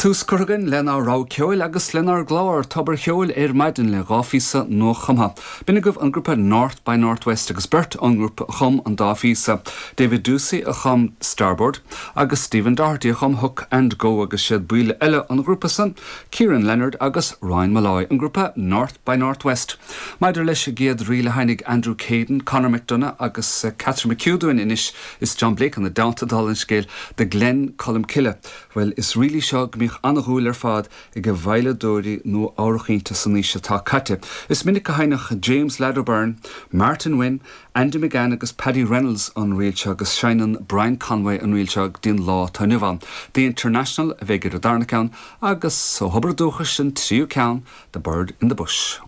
Tús curtha againn lenár rogha ceoil agus lenár gclár Tobar Cheoil ar maidin le dha phíosa nua-chumtha. B'in agaibh an grúpa North by North West agus beirt ón ngrúpa a chum an dá phíosa, David Doocey a chum Starboard agus Stephen Doherty a chum Hook and Go agus siad baill eile an ghrúpa san, Kieran Leonard agus Ryan Molloy, an grúpa North by North West. Maidir leis an gcéad ríl a sheinnfidh Andrew Caden, Conor McDonagh agus Catherine McHugh dúinn anois is John Blake ina dteannta dála an scéil, The Glen Colmcille. Bhuel, is ríl í seo go mbíodh an-dhúil ar fad ag veidhleadóirí Nua-Eabhrac inti san aois atá caite. Is minic a sheinneadh James Lad O'Beirne, Martin Wynne, Andy McGann agus Paddy Reynolds an ríl seo agus seinneann Brian Conway an ríl seo go dtí an lá atá inniu ann. The International a bheidh ar an darna ceann agus ó thobar dúchais an tríú ceann, The Bird in the Bush.